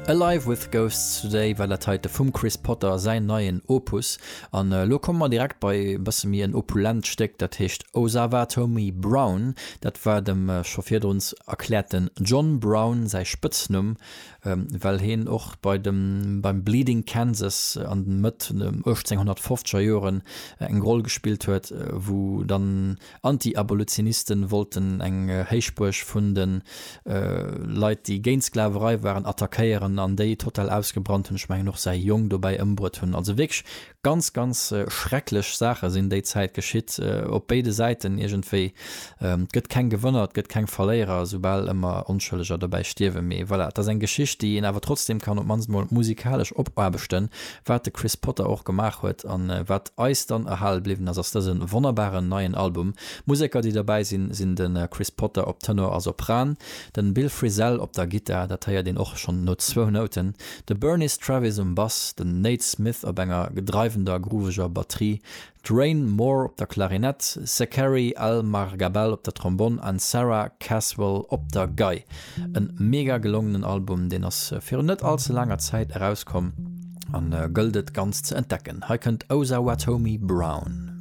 Alive with Ghosts Today war dat heite vum Chris Potter säin neien Opus. An elo komme mer direkt bei e bësse méi en opulent Stéck, dat heescht Osawatomie Brown. Dat war dem scho virdrun erkläerten John Brown säi Spëtznumm, well heen och bei dem beim Bleeding Kansas an den Mëtt 1850er Joren eng Roll gespillt huet, wou dann Anti-Abolitionisten wollten eng Héichbuerg vun de Leit déi géint d'Sklaverei waren attackéieren an déi total ausgebrannt hunn, ech mengen och säi Jong dobäi ëmbruet hunn. Also wierklech Ganz ganz schrecklech Saache sinn déi Zäit geschitt, op béide Säiten iergendwéi. Et gëtt keng Gewënner, et gëtt keng Verléierer, soubal ëmmer Onschëlleger dobäi stierwen. Mee voilà, et ass eng Geschicht, déi een awer trotzdem kann op d'mannst mol musikalesch opaarbechten, wat de Chris Potter och gemaach huet. An wat eis dann erhale bliwwen ass, ass dëse wonnerbaren neien Album. Museker, déi derbäi sinn, sinn de Chris Potter op Tenor a Sopran, den Bill Frisell op der Gittar, dat héiert een och schonn no zwou Nouten, De Burniss Travis um Bass, den Nate Smith op enger gedreiwender, grooveger Batterie, d'Raine Moore op der Klarinett, Zachary Al-Margabel op der Trombonn an Sarah Caswell op der Gei. En mega gelongenen Album, deen ass virun net all ze laanger Zäit erauskomm an gëllt et ganz ze entdecken. Hei kënnt Osawatomie Brown.